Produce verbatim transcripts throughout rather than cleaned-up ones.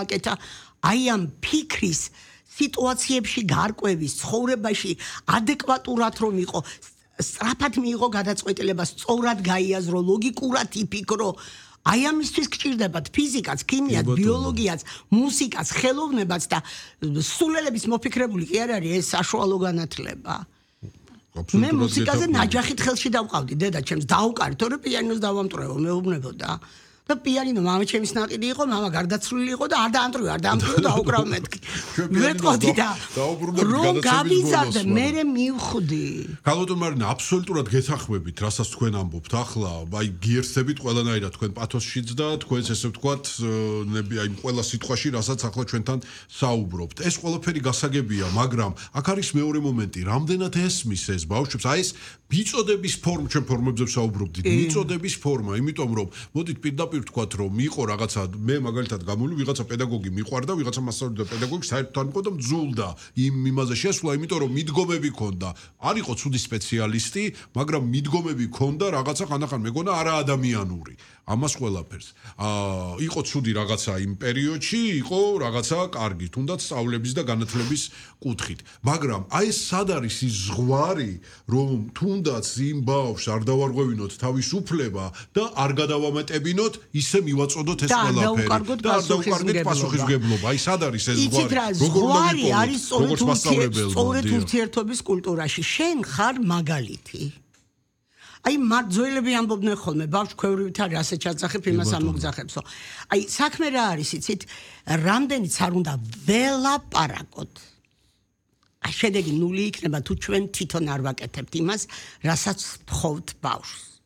აკეთა აი ამ ფიქრის სიტუაციებში გარკვევის ცხოვრებაში ადეკვატურად რომ იყო სწრაფად მიიღო გადაწყვეტილება სწორად გაიაზრო ლოგიკურად იფიქრო აი ამისთვის გჭირდებათ ფიზიკაც, ქიმიაც, ბიოლოგიაც, მუსიკაც, ხელოვნებაც და სულელების მოფიქრებული კი არ არის ეს საშუალო განათლება. მე მუსიკაზე ნაჯახით ხელში დავყავდი დედა ჩემს დაუკარით, თორე პიანინოს დავამტვრევო, მეუბნებოდა. და პიანინო მამა ჩემის ნაყიდი იყო, მამა გარდაცვლილი იყო და არ დაამტრივე, არ დაამტრივე დაუკრავ მეთქი. მეთქოდი და რომ გავიზარდე, მე მივხვდი. ქალბატონ მარინა, აბსოლუტურად გეთანხმებით, რასაც თქვენ ამბობთ ახლა, აი გიერთდებით ყველანაირად თქვენ პათოსშიც და თქვენს ესე ვთქვათ, აი ყველა სიტყვაში, რასაც ახლა ჩვენთან საუბრობთ. ეს ყველაფერი გასაგებია, მაგრამ აქ არის მეორე მომენტი, რამდენად ესმის ეს ბავშვებს, აი ეს მიწოდების ფორმა, ჩვენ ფორმებზე ვსაუბრობდით, მიწოდების ფორმა, იმიტომ რომ მოდით პირდაპირ ვთქვათ რომ იყო რაღაცა მე მაგალითად გამოვი ვიღაცა პედაგოგი მიყვარდა ვიღაცა მასწავლებელი და პედაგოგი საერთოდ იყო და მძულდა იმ იმაზე შესვლა იმიტომ რომ მიდგომები ქონდა არ იყო ცუდი სპეციალისტი მაგრამ მიდგომები ქონდა რაღაცა ხანდახან მეგონა არაადამიანური ამას ყველაფერს აა იყო ცუდი რაღაცა იმ პერიოდში იყო რაღაცა კარგი თუნდაც სწავლების და განათლების კუთხით მაგრამ აი ეს სად არის ის ზღვარი რომ თუნდაც იმ ბავშვს არ დავარღვევინოთ თავის უფლება და არ გადავამეტებინოთ ისე მივაწოდოთ ეს ყველაფერი და არ დავუკარგეთ პასუხისმგებლობა. აი სად არის ეს ზღვარი? ზღვარი არის სწორედ ურთიერთობის კულტურაში. შენ ხარ მაგალითი. აი მარძველები ამბობდნენ ხოლმე ბავშვ ქვევრივით არის ასე ჩაძახებ იმას ამოგძახებსო. აი საქმე რა არის იცით? რამდენიც არ უნდა ველაპარაკოთ. აი შედეგი ნული იქნება თუ ჩვენ თვითონ არ ვაკეთებთ იმას, რასაც თხოვთ ბავშვს.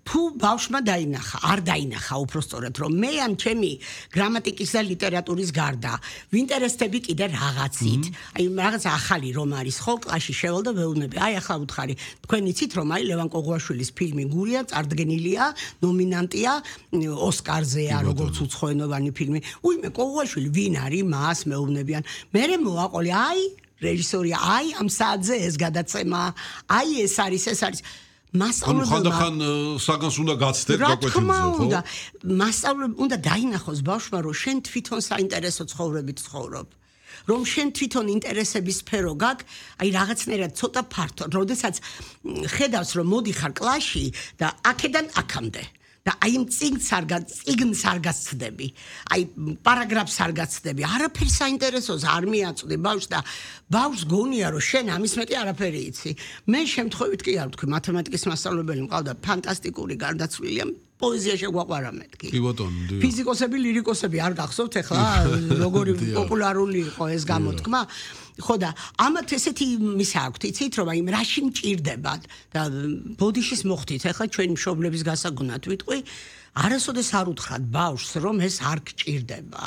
თუ ბავშვმა დაინახა, არ დაინახა უпростоრად რომ მე ან ჩემი გრამატიკის და ლიტერატურის გარდა ვინტერესდები კიდე რაღაცით, აი რაღაც ახალი რომ არის ხო კლასში შევალ და ვეუბნები, აი ახლა უთხარი, თქვენ იცით რომ აი ლევან კოღუაშვილის ფილმი გურია, წარდგენილია, ნომინანტია ოსკარზეა როგორც უცხოენოვანი ფილმი. უიმე კოღუაშვილი ვინ არის, მას მეუბნებიან. მე მოვაყოლე, აი რეჟისორია, აი ამ საათზე ეს გადაცემა, აი ეს არის, ეს არის მასწავლებელმა ხანდახან საგანს უნდა გაცდეთ გაკვეთილზე ხო? მასწავლებლ უნდა დაინახოს ბავშვმა რომ შენ თვითონ საინტერესო ცხოვრებით ცხოვრობ. რომ შენ თვითონ ინტერესების სფერო გაქვს, აი რაღაცნაირად ცოტა ფართო, როდესაც ხედავს რომ მოდიხარ კლასში და აქედან აქამდე და აი იმ წიგნს არ წიგნს არ გაცდები. აი პარაგრაფს არ გაცდები. არაფერ საინტერესოს არ მიაწვდი ბავშვს და ბავშვს გონია რომ შენ ამის მეტი არაფერი იცი. მე შემთხვევით კი არ ვთქვი, მათემატიკის მასწავლებელი მყავდა ფანტასტიკური გარდაცვლილია. პოეზია შეგვაყვარა მეთქი. კი ბატონო. ფიზიკოსები, ლირიკოსები არ გახსოვთ ახლა როგორი პოპულარული იყო ეს გამოთქმა. ხო და ამათ ესეთი მისა აქვთ, იცით რომ აი რაში მჭირდება და ბოდიშის მოხდით ახლა ჩვენი მშობლების გასაგონად ვიტყვი, არასოდეს არ უთხრათ ბავშვს რომ ეს არ გჭირდება.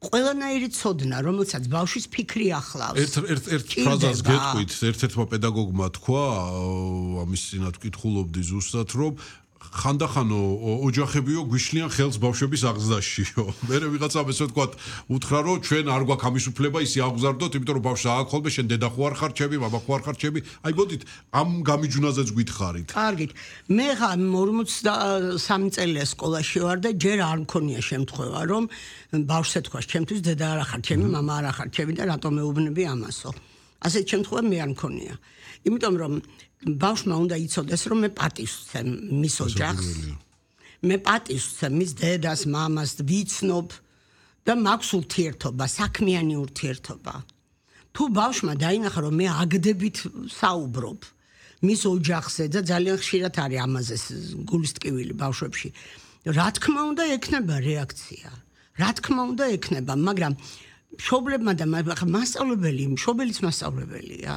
ყველანაირი ცოდნა, რომელსაც ბავშვის ფიქრი ახლავს. ერთ ერთ ერთ ფრაზას გეტყვით, ერთ-ერთმა პედაგოგმა თქვა, ამის წინათ ვკითხულობდი ზუსტად, რომ ხანდახანო ოჯახებიო გვიშლიან ხელს ბავშვების აღზრდაშიო. მერე ვიღაცა ესე ვთქვათ, უთხრა რომ ჩვენ არ გვაქვს ამის უფლება ისე აღზარდოთ, იმიტომ რომ ბავშვს ააქვს ხოლმე შენ დედა ხო არ ხარ ჩემი, მამა ხო არ ხარ ჩემი. აი ბოდით, ამ გამიჯვნაზეც გითხარით. კარგით. მე ხა ორმოცდასამი წელია სკოლაში ვარ და ჯერ არ მქონია შემთხვევა, რომ ბავშვს ეთქვას, ჩემთვის დედა არ ხარ ჩემი, მამა არ ხარ ჩემი და რატომ მეუბნები ამასო. ასეთ შემთხვევა მე არ მქონია. იმიტომ რომ ბავშვმა უნდა იცოდეს რომ მე პატივს ვცემ მის ოჯახს. მე პატივს ვცემ მის დედას, მამას, ვიცნობ და მაქვს ურთიერთობა, საქმიანი ურთიერთობა. თუ ბავშვმა დაინახა რომ მე აგდებით საუბრობ მის ოჯახზე და ძალიან ხშირად არის ამაზე გულის ტკივილი ბავშვებში. რა თქმა უნდა ექნება რეაქცია. რა თქმა უნდა ექნება, მაგრამ მშობლებმა და მასწავლებელი, მშობელიც მასწავლებელია.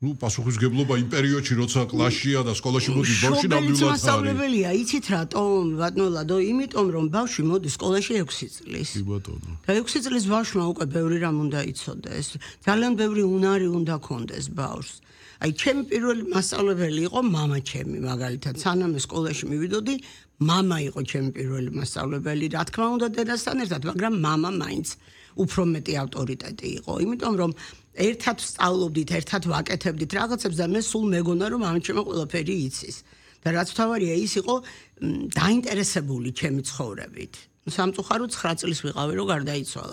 ნუ პასუხისმგებლობა იმ პერიოდში როცა კლასშია და სკოლაში მოდის ბავშვი ნამდვილად არის. მასწავლებელია, იცით რატომ? ბატონო ლადო, იმიტომ რომ ბავშვი მოდის სკოლაში ექვსი წლის. კი ბატონო. და ექვსი წლის ბავშვმა უკვე ბევრი რამ უნდა იცოდეს. ძალიან ბევრი უნარი უნდა ქონდეს ბავშვს. აი ჩემი პირველი მასწავლებელი იყო მამა ჩემი, მაგალითად, სანამ სკოლაში მივიდოდი, მამა იყო ჩემი პირველი მასწავლებელი, რა თქმა უნდა დედასთან ერთად, მაგრამ მამა მაინც უფრო მეტი ავტორიტეტი იყო, იმიტომ რომ ერთად ვსწავლობდით, ერთად ვაკეთებდით რაღაცებს და მე სულ მეგონა რომ ამ ჩემო ყველაფერი იცის. და რაც თავარია ის იყო დაინტერესებული ჩემი ცხოვრებით. სამწუხაროდ ცხრა წლის ვიყავი, რომ გარდაიცვალა.